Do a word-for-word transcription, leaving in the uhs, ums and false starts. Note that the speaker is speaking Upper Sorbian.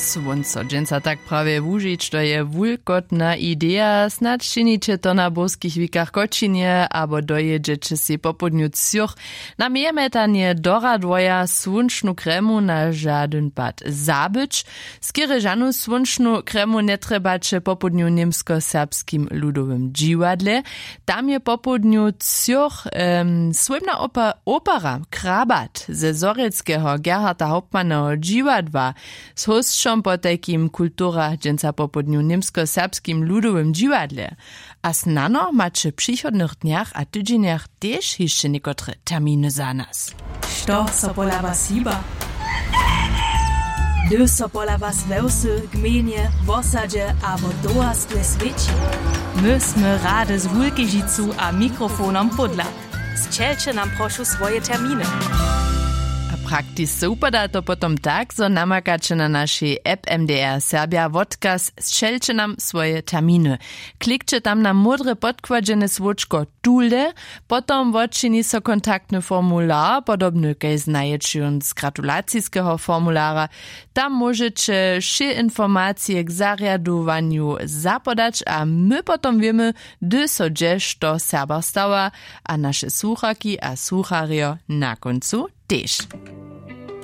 Słónco dźensa tak prawje wužić, to je wulkotna ideja. Snadź činiće to na burskich wikach w Kočinje abo dojědźeće sej popołdnju třoch na mejemjetanje do Radworja słónčnu kremu na žadyn pad zabyć. Skerje žanu słónčnu kremu njetrjebaće popołdnju w němskoserbskim ludowym dźiwadle. Tam je popołdnju třoch słómna opera Krabat ze zhorjelskeho Gerharda Hauptmanneho dźiwadła z hósćom potajkim w kulturach dźensa popołdnju w němskoserbskim ludowym dźiwadle. A snano maće w přichodnych dnjach a tydźenjach tež hišće někotre terminy za nas. Što so pola was hiba? Hdy so pola was we wsy, gmejnje, wosadźe abo towarstwje swěći? My smy rady z wulkežicu a mikrofonom pódla. Sćelće nam prošu swoje terminy. A praktičce wupada to potom tak, zo namakaće na našej app M D R Serbja wotkaz sćelće nam swoje terminy. Klikće tam na módre podkładźene słódčko tule. Potom wotčini so kontaktny formular, podobny kaž znajeće jón z gratulaciskeho formulara. Tam móžeće wšě informacije k zarjadowanju zapodać a my potom wěmy, hdy so hdźe što w Serbach stawa, a naše słucharki a słucharjo na kóncu tež.